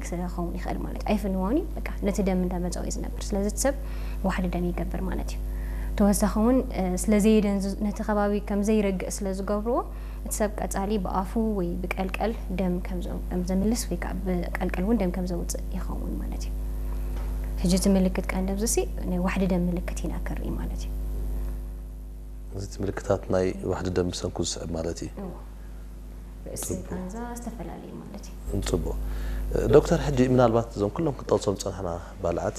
ክኸውን ይኽእል ማለት እዩ። ኣይፍንዎን እዩ፣ በቃ ነቲ ደም እንዳመጸወ እዩ ዝነብር። ስለዚ እቲ ሰብ ዋሕዲ ደም ይገብር ማለት እዩ። ተወሳኺ እውን፣ እ፣ ስለ ዘየደንዝ-፣ ነቲ ከባቢ ከም ዘይረግእ ስለ ዝገብርዎ፣ እቲ ሰብ ቀጻሊ ብኣፉ ወይ ብቀልቀል ደም ከም ዘ-፣ ከም ዘምልስ ወይ ከዓ ብቀልቀል እውን ደም ከም ዘውጽእ ይኸውን ማለት እዩ። ሕጂ እቲ ምልክት ቀንዲ ኣብዚ ሲ ናይ ዋሕዲ ደም ምልክት ኢና ክርኢ ማለት እዩ። እዚ እቲ ምልክታት ናይ ዋሕዲ ደም ብሰንኩ ዝስዕብ ማለት እዩ። እዎ። ርእሲ ቃንዛ ዝተፈላለየ ማለት እዩ። ጽቡቕ። ዶክተር፣ ሕጂ ምናልባት እዞም ኩሎም ክንጠቕሶም ዝጸናሕና ባልዓት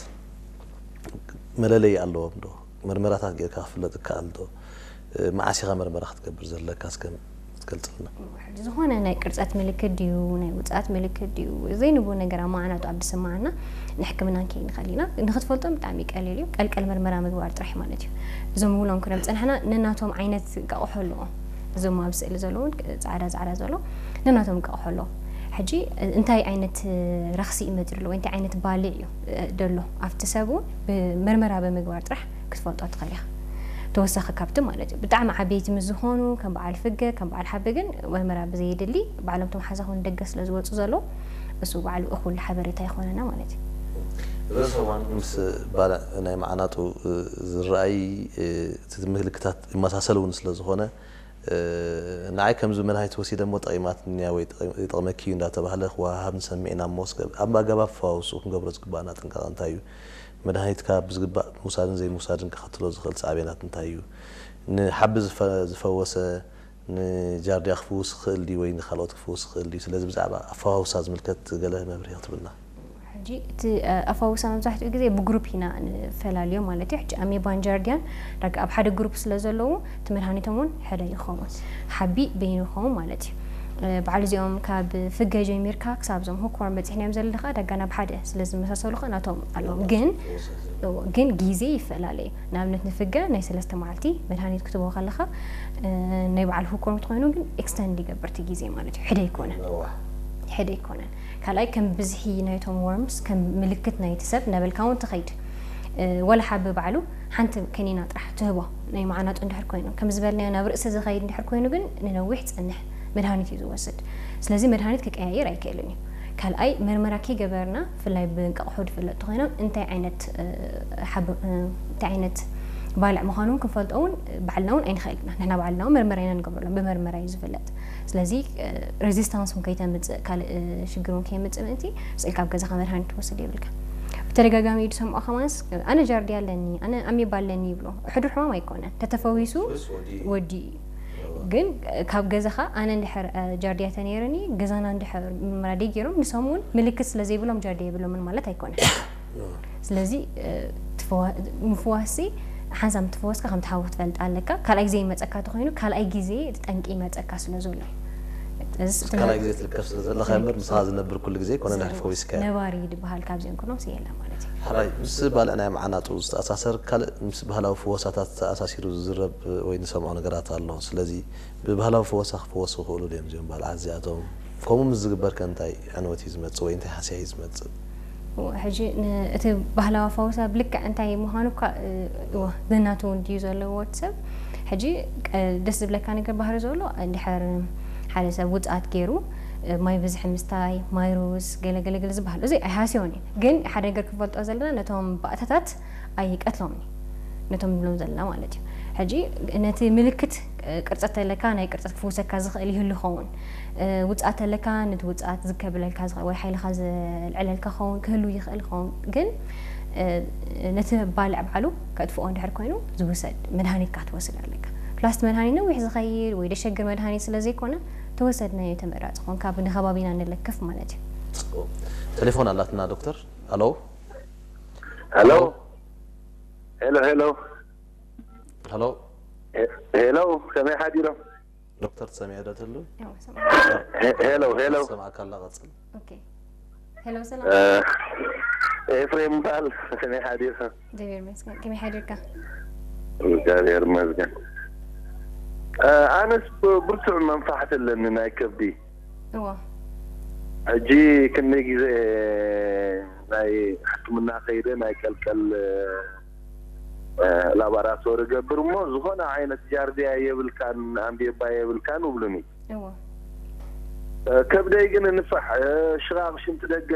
መለለዪ ኣለዎም ዶ? መርመራታት ጌርካ ክፍለጥ ይከኣል ዶ? መዓስ ኢኻ መርመራ ክትገብር ዘለካ እስከ ክትገልጽልና? ሕጂ ዝኾነ ናይ ቅርጸት ምልክት ድዩ፣ ናይ ውጽኣት ምልክት ድዩ፣ ዘይንቡ ነገር ኣብ መዓናጡ ኣብ ዝስምዓና ንሕክምና ክንከይድ ንኽእል ኢና። ንኽትፈልጦም ብጣዕሚ ቀሊል እዩ። ቀልቀል መርመራ ምግባር ጥራሕ ማለት እዩ። እዞም ንብሎም ክነም ዝጸናሕና ነናቶም ዓይነት እንቃቑሖ ኣለዎም። እዞም ኣብ ስእሊ ዘለዉ ጻዕዳ ጻዕዳ ዘሎ ነናቶም እንቃቑሖ ኣለዎም። ሕጂ እንታይ ዓይነት ረኽሲ እዩ መጺኡ ዘሎ ወይ እንታይ ዓይነት ባልዕ እዩ ደሎ ኣብቲ ሰብ እውን ብመርመራ ብምግባር ጥራሕ ክትፈልጦ ትኽእል ኢኻ። ተወሳኺ ካብቲ ማለት እዩ። ብጣዕሚ ዓበይቲ ምስ ዝኾኑ ከም በዓል ፍገ፣ ከም በዓል ሓቢ ግን መርመራ ብዘየድሊ ባዕሎም እቶም ሓዛ ኾን ደገ ስለ ዝወጹ ዘለዉ እሱ ባዕሉ እኹል ሓበሬታ ይኾነና ማለት እዩ። ርእሰ እዋን ምስ ባልዕ ናይ መዓናጡ ዝረኣይ እቲ ምልክታት ይመሳሰል እውን ስለ ዝኾነ ንዓይ ከምዚ መድሃኒት ወሲደ እሞ ጠቒማትኒ እያ ወይ ይጠቕመኪ እዩ እንዳተባህለ ክወሃሃብ ንሰምዕ ኢና እሞ እስከ ኣብ ኣገባብ ፈዋውስኡ ክንገብሮ ዝግባኣና ጥንቃቐ እንታይ እዩ? መድሃኒትካ ብዝግባእ ምውሳድን ዘይምውሳድን ከኸትሎ ዝኽእል ሳዕቤናት እንታይ እዩ? ንሓቢ ዝፈወሰ ንጃርዲያ ክፍውስ ይኽእል ድዩ ወይ ንኻልኦት ክፍውስ ይኽእል ድዩ? ስለዚ ብዛዕባ ኣፈዋውሳ ዝምልከት ገለ መብርሂ ክትብልና። ሕጂ እቲ ኣፈዋውሳ መብዛሕትኡ ግዜ ብግሩፕ ኢና ንፈላልዮ ማለት እዩ። ሕጂ ኣሜባን ጃርዲያን ዳጋ ኣብ ሓደ ግሩፕ ስለ ዘለዉ እቲ መድሃኒቶም እውን ሕደ ይኸውን። ሓቢ በይኑ ይኸውን ማለት እዩ። ባዕሉ እዚኦም ካብ ፍገ ጀሚርካ ክሳብ እዞም ሁክወርም በፂሕናዮም ዘለና ከዓ ዳጋ ናብ ሓደ ስለ ዝመሳሰሉ ከዓ ናቶም ኣለዎም። ግን ግን ግዜ ይፈላለ እዩ። ንኣብነት ንፍገ ናይ ሰለስተ መዓልቲ መድሃኒት ክትቦ ከለኻ ናይ በዓል ሁኮርም ትኾይኑ ግን ኤክስተንድ ይገብር እቲ ግዜ ማለት እዩ። ሕደ ኣይኮነን። ሕደ ኣይኮነን። ካልኣይ ከም ብዝሒ ናይቶም ወርምስ ከም ምልክት ናይቲ ሰብ እናበልካ እውን ትኸይድ። ወላ ሓቢ ባዕሉ ሓንቲ ከኒና ጥራሕ ትህቦ ናይ መዓናጡ እንድሕር ኮይኑ ከም ዝበልናዮ ናብ ርእሲ ዝኸይድ እንድሕር ኮይኑ ግን ንነዊሕ ጸንሕ መድሃኒት እዩ ዝወስድ። ስለዚ መድሃኒት ክቀያየር ኣይክእልን እዩ። ካልኣይ መርመራ ከይገበርና ብፍላይ ብእንቃቑሖ ዝፍለጡ ኮይኖም እንታይ ዓይነት እንታይ ዓይነት ባልዕ ምዃኑ እውን ክንፈልጦ እውን ባዕልና እውን ኣይንኽእል ኢና። ንሕና ባዕልና እውን መርመራ ኢና ንገብረሎም። ብመርመራ እዩ ዝፍለጥ። ስለዚ ሬዚስታንስ እውን ከይተምፅእ ካልእ ሽግር እውን ከየምፅእ ምእንቲ ስእልካ ኣብ ገዛኻ መድሃኒት ትወስድ የብልካ። ብተደጋጋሚ እዩ ዝሰምዖ ከማንስ ኣነ ጃርዲ ኣለኒ፣ ኣነ ኣሜባ ኣለኒ ይብሎ። ሕዱር ሕማም ኣይኮነን። ተተፈዊሱ ወዲ እዩ። ግን ካብ ገዛኻ ኣነ እንድሕር ጃርዲያ ተነይርኒ ገዛና እንድሕር ምራደይ ገይሮም ንሶም እውን ምልክት ስለ ዘይብሎም ጃርዲያ የብሎምን ማለት ኣይኮነን። ስለዚ ምፍዋስሲ ሓንሳብ ምትፈወስካ ከም ትሓዊ ክትፈልጥ ኣለካ። ካልኣይ ግዜ ይመፀካ ተኮይኑ ካልኣይ ግዜ እቲ ጠንቂ ይመፀካ ስለ ዘሎ እዩ። ካልኣይ ግዜ ትርከብ ስለ ዘለካ እምበር ምሳኻ ዝነብር ኩሉ ግዜ ኮነ ድሕሪ ፈዊስካ ነባሪ ዝበሃል ካብዚኦም ኩሎም ስየላ ማለት እዩ። ሕራይ ምስ ባልዕ ናይ መዓናጡ ዝተኣሳሰር ካልእ ምስ ባህላዊ ፍወሳታት ተኣሳሲሩ ዝዝረብ ወይ ንሰምዖ ነገራት ኣሎ። ስለዚ ብባህላዊ ፈወሳ ክፍወሱ ይኽእሉ ድዮም እዚኦም ባልዓት እዚኣቶም? ከምኡ ምስ ዝግበር ከ እንታይ ዕንወት እዩ ዝመጽእ ወይ እንታይ ሃስያ እዩ ዝመጽእ? ሕጂ እቲ ባህላዊ ፈውሳ ብልክዕ እንታይ ምዃኑ እኳ እወ ነናቱ ድዩ ዘለዎ ወዲ ሰብ ሕጂ ደስ ዝብለካ ነገር ባህሪ ዘሎ እንድሕር ሓደ ሰብ ውፅኣት ገይሩ ማይ ብዝሒ ምስታይ ማይ ሩዝ ገለገለገለ ዝበሃል እዚ ኣይሃስዮን እዩ። ግን ሓደ ነገር ክንፈልጦ ዘለና ነቶም ባእታታት ኣይቀትሎምን እዩ። ነቶም ንብሎም ዘለና ማለት እዩ። ሕጂ ነቲ ምልክት ቅርጸት ተለካ ናይ ቅርጸት ክፍውሰካ ዝኽእል ይህሉ ይኸውን። ውጽኣት ተለካ ነቲ ውጽኣት ዝከብለልካ ዝኽእል ወይ ሓይልኻ ዘልዕለልካ ክኸውን ክህሉ ይኽእል ይኸውን። ግን ነቲ ባልዕ ባዕሉ ከጥፍኦ እንድሕር ኮይኑ ዝውሰድ መድሃኒትካ ትወስድ ኣለካ። ፕላስ እቲ መድሃኒት ነዊሕ ዝኸይድ ወይ ደሸግር መድሃኒት ስለ ዘይኮነ ተወሰድናዮ ተመራጺ ኾን ካብ ንኸባቢና ንለክፍ ማለት እዩ። ቴሌፎን ኣላትና ዶክተር። ኣሎ ሄሎ ሄሎ ሄሎ ሄሎ ሄሎ ከመይ ሓዲሮም? ዶክተር ትሰምዕ ዶ ትህሉ? ያው ሰማ ሄሎ ሄሎ ሰማዕካ ኣላ ቀጽል። ኦኬ ሄሎ ሰላም ኤፍሬም በሃል ከመይ ሓዲርካ? እግዚአብሔር ይመስገን። ከመይ ሓዲርካ? እግዚኣብሔር ይመስገን። ኣነስ ብርቱዕ መንፋሕቲ ኣለኒ ናይ ከብዲ። እዎ ሕጂ ክንደይ ግዜ ናይ ሕክምና ከይደ ናይ ቀልቀል ላባራቶሪ ገብር እሞ ዝኾነ ዓይነት ጃርዲያ የብልካን ኣምቤባ የብልካን ይብሉኒ። እዎ ከብደይ ግን ንፋሕ ሽቓቕ ሽንቲ ደገ